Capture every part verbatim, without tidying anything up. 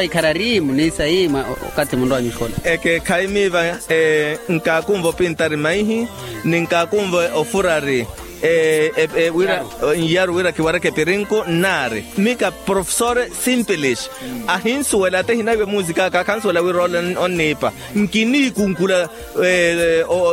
va ikharari muniisa yi mwa okathi munrowa nyuxola. Ekeekhayi miiva nkaakunva opintari maihi ni nkaakunva ofurari wira nyaru wira kiwareke pirinku nnaari mika profesore simpilish ahinsuwela ate hinaiwe musikaka akhansuwela wira ole onniipa nkiniikunkula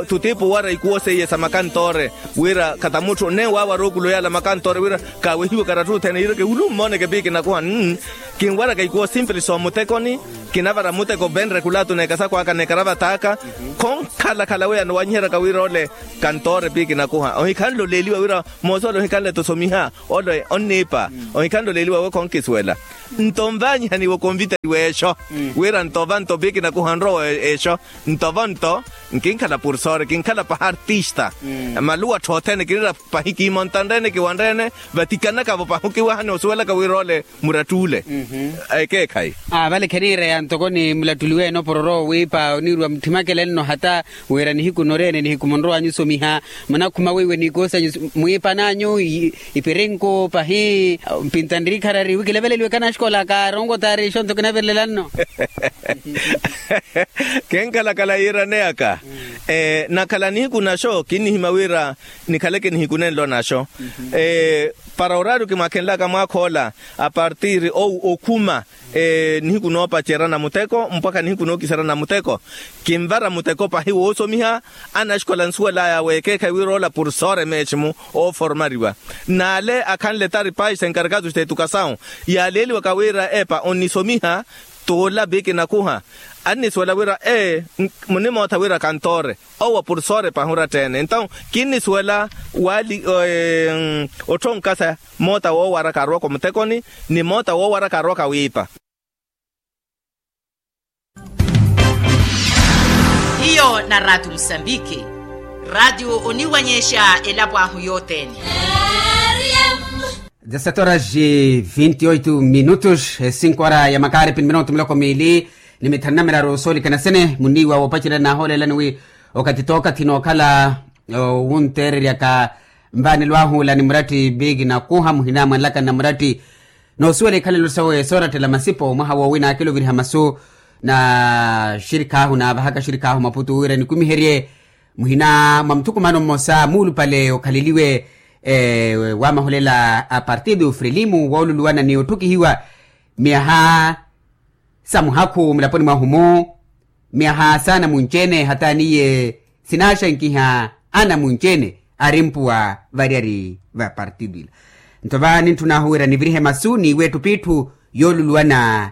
tutipu owara ikuwo seiye sa makantoore wira khata mutthu nne waawara okulu yaala makantoore wira kaawehiwe karattuthene yiireke wulu mmooneke piikinakuha nn kinwaraka ikuwo simpilish omutekoni kinavara muteko venre kulaatu n'ekasakw'aka n'ekaravataaka khonkhalakhala weyano wanyiheryaka wira ole kantoore piikinakuha ohikhanle oleeliwa wira moosi ole ohikhanle-tho osomiha ole onniipa ohikhanle oleeliwa we khonkisuwela nto nvaanyihaniwa okonvitariwa exo wira nto vanto piikinakuha nrowa exo nto vanto nkinkhala pursore kinkhala pahi artista maluwa tthoothene kinira pahi kiimontanre-ene kiwanre-ene vatikanaka-vo pahi okiwahani osuwelaka wira ole murattuule ekeekhayi vale kheniireya ntoko ni mulattuliwe-ene opororo wiipa oniiriwa muthimakele nno hata wira nihiku nnoreene nihiku munrowanyu osomiha munakhuma weiwe n'ikoosi anyu mwiipan'anyu ipirinko pahi mpintanrikharari wi kileveleliwe kanaxikola kaaronkotaari exo nto kinavelelano kenkhalakhala yiiraneyaka nakhala nihiku naxo kinnihimya wira nikhaleke nihiku nenlo naxo para oraario kimwaakhenlaka mwaakha ola apartiri okhuma nihiku noopacerya namuteko mpwakha nihiku nookisarya namuteko kinvara muteko pahi woosomiha anaxikola nsuwel'aya weekeekhayi wira ola pursore meeximu ooformariwa n'ale akhanle tari pais enkarkatus t'etukasawu yaaleeliwaka wira epa onnisomiha t'ola piikinakuha annisuwela wira ee munimootha wira kantoore owo pursore pahi orattheene entawu kinnisuwela waali otthonka sa moota woowara kaarowaka omutekoni ni moota woowara kaarowaka wiipa hiyo na raatiyo musambiki raatiyo oniwanyexa elapo ahu yothene dezasete horas e vinte e oito minutos e cinco horas ya makaari pini minuto miloko miili ni mithanu na miraru soolikana sene muniiwa woopacerya naahoolelani wi okathi t'okathi nookhala owunteereryaka mvaanelo ahu ola ni muratti piiki nakuha muhina mwanlaka na muratti noosuwela ikhalelo sawe soorattela masipo mwaha woowina akiloviriha masu na xirikha ahu naavahaka xirikha ahu maputu wira nikumiherye muhina mwa muthukumano mmosa muulupale okhaleliwe wamaholela a partido frelimu wooluluwana ni otthukihiwa myaha sa muhakhu mulaponi mwahu-mu myaha saana munci-ene hata niye sinaaxankiha ana munci-ene ari mpuwa variyari va partido ila nto va nintthun'ahu wira nivirihe masu n'iwe etthu p'itthu yooluluwana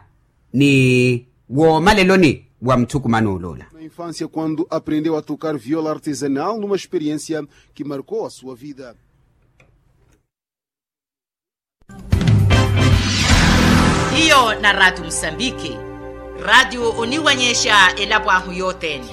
ni woomaleloni wa muthukumano oloola na infância quando aprendeu a tocar viola artesanal numa experiência que marcou a sua vida hiyo na raatiyo musambiki raatiyo oniwanyexa elapo ahu yothene